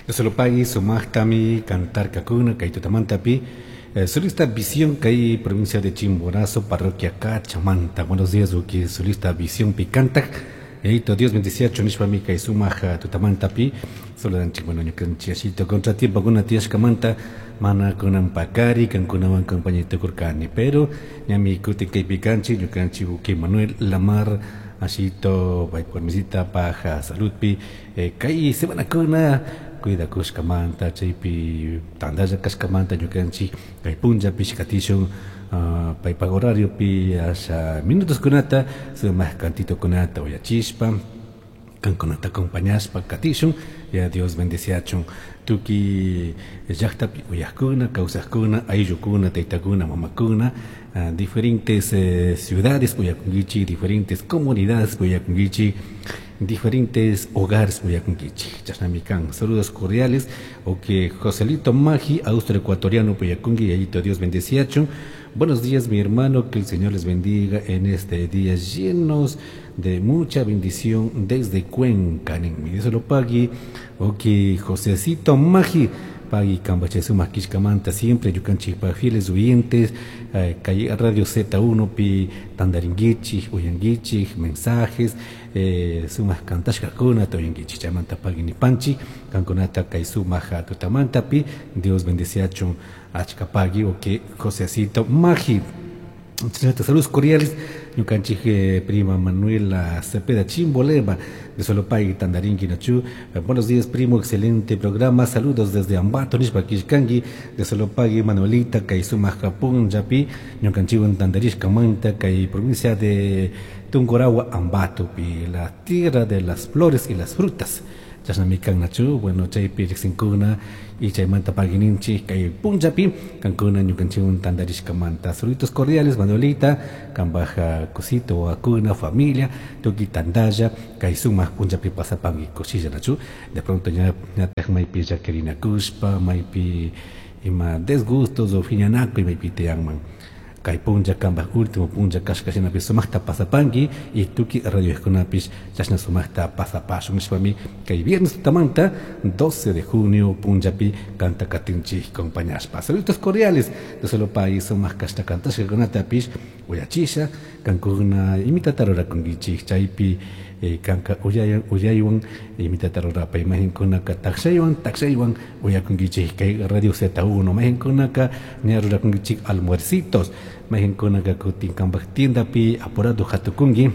Solopagui sumaqtami cantarkakuna kay tutamantapi solista Visión kay provincia de Chimborazo, parroquia Cachamanta. Buenos días, uki solista Visión pi cantak. Yaito Dios bendiciachu nishpami kay sumaq tutamantapi saludanchik. Bueno, ñukanchik ashito contratiempokuna tiyashkamanta mana kunan pakari kankunawan compañía tukurkani, pero ñami kutin kaypi kanchik ñukanchik uki Manuel Lamar ashito paypuk paja saludpi kay semanakuna cuidakushkamanta chaypi tantalla kashkamanta ñukanchik kay punllapish katishun paypak horariopi asha minutoskunata sumaq cantitokunata uyachishpa kankunata acompañashpa katishun. Ya Dios bendeciachun tukuy llaqtapi uyaqkuna, kawsaqkuna, ayllukuna, taytakuna, mamakuna, diferentes ciudades uyakunkichik, diferentes comunidades uyakunkichik, diferentes hogares uyakunkichik. Chashnami kan. Saludos cordiales. Ok, Joselito Magi, austro ecuatoriano uyakunki, yayito Dios bendeciachun. Buenos días, mi hermano, que el Señor les bendiga en este día llenos de mucha bendición desde Cuenca. Dios lo pague. Ok, Josecito Magi, pagui kambache sumaq kishkamanta siempre ñukanchikpa fieles oyentes, kay Radio Z1 pi tantarinkichik, uyankichik mensajes, sumaq kantashkakunata uyankichik. Chaymanta pagui nipanchik kankunata kay sumaq tutamantapi Dios bendeciachun achka pagui. Ok, Josecito Magi. Saludos cordiales, ñukanchik prima Manuela Cepeda Chimbolema de Solopay, Tandarinqui, Nachu. Buenos días, primo, excelente programa. Saludos desde Ambato, nishpa kishkanki, de Solopay, Manuelita, kay sumaq punllapi, ñukanchikwan tantarishkamanta, kay provincia de Tungurahua, Ambato, pi, la tierra de las flores y las frutas. Chashnami kan nachu, bueno, chaypi riqsinkuna y chaymanta paguininchik kay punllapi kankuna ñukanchikwan tantarishkamanta. Saluditos cordiales, Manuelita, kambaja cosito, akuna, familia, tukuy tantalla, kay sumaq punllapi pasapanki kushilla nachu. De pronto ña ñataq maypi llakirinakushpa, maypi ima desgustos o phiñanakuy maypi tiyanman. Kay punlla kambaj último punlla kashka shinapi sumaqta pasapanki y tukuy radiokunapish chashna sumaqta pasapashun nishpami kay viernes tutamanta 12 de junio punllapi kanta katinchik acompañashpa. Saludos cordiales de solo país sumaq kashta kantashkakunatapish uyachisha kankuna imitata rurakunkichik chaypi kanka uyaywan imitata rurapay mayqinkunaka takshaywan takshaywan uyakunkichik kay Radio Z1 mayqinkunaka ña rurakunkichik almuercitos mayqinkunaka kutin kanpak tiendapi apurado hatukunki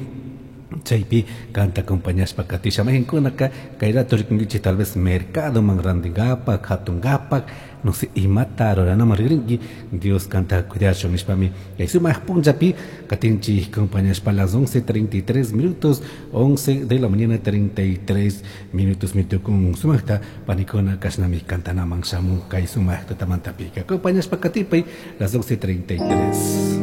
chaypi kanta acompañashpa katisha mayqinkunaka kay rato rikunkichik tal vez mercadoman rantinkapak hatunkapak no sé imata ruranaman rinki Dios kanta cuidachun nishpami kay sumaq punllapi katinchik acompañashpa las 11:33 minutos, 11 de la mañana 33 minutos mitukun sumaqta panikuna kashnami kantanaman shamun kay sumaq tutamantapika acompañashpa katipay las 11:33.